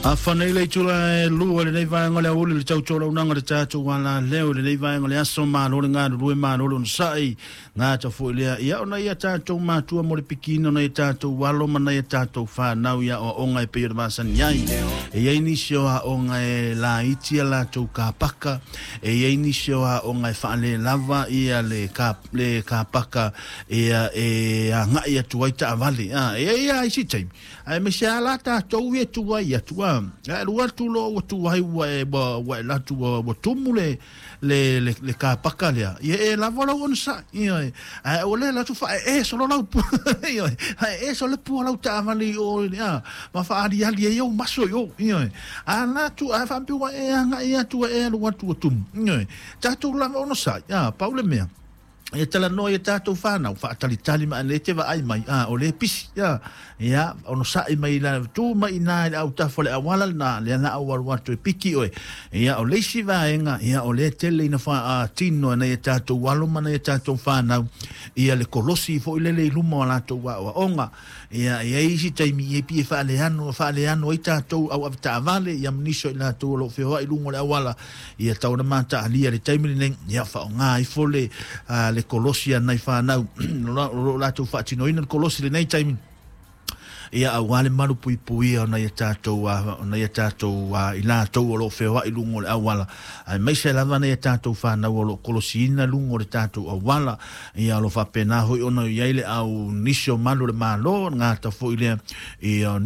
Afanei le itula e lua lenei vaega o le aoauli le tautualaunaga o le tatou alaleo i lenei vaega o le aso malo le galulue malo le onosai gata foi lea ia ona ia tatou matua mo le pikiina ona ia tatou alo ma nai a tatou fanau i aoaoga e pei o le masani ai. E i ai nisi o aoga e laiti a latou kapaka, e i ai nisi o aoga e faalelava ia le le kapaka ia e agai atu ai taavale. E i ai lava isi taimi aemaise lava la tatou ia e tuai atu a ae alu atu loa ua tuai ua e ua e alu atu ua tumu le kapaka lea ia e lava lou onosai ioe ae ua le alu atu faaee solo lau pua ioe faaee solo le pua o lau taavale i o a ma faaaliali ai ou maso i o ioe a alu atu ae faapea ua e agai atu ua e alu atu ua tumu ioe tatou lava onosai a pau le mea e talanoa i a tatou fanau, faatalitali mai e te vaai mai, a, o lea e pisi, a, ia, onosai mai la, tu mai i na i le autafa o le auala lena, lea na au alu atu e piki oe. Ia, o le isi vaega, ia, o lea tele ina faatino e nai a tatou alo ma nai a tatou fanau, ia le kolosi foi lele i luma o latou aoaoga. Ia, e i ai isi taimi e pei e faaleano, faaleano ai tatou au avetaavale, ia ma nisi o i latou o lo o feoai i luga o le auala, ia tau ona mataalia le taimi lenei, ia faaaoga ifo le kolosi a nai fanau o lo o latou faatinoina le kolosi i lenei taimi, ia aua le malu puipuia o nai a tatou o nai a tatou i latou o lo o feoai i luga o le auala, aemaise lava nai a tatou fanau o lo o kolosiina luga o le tatou auala. Ia o lo o faapena foi ona i ai le au nisi o malu o le Malo gata foi lea ia.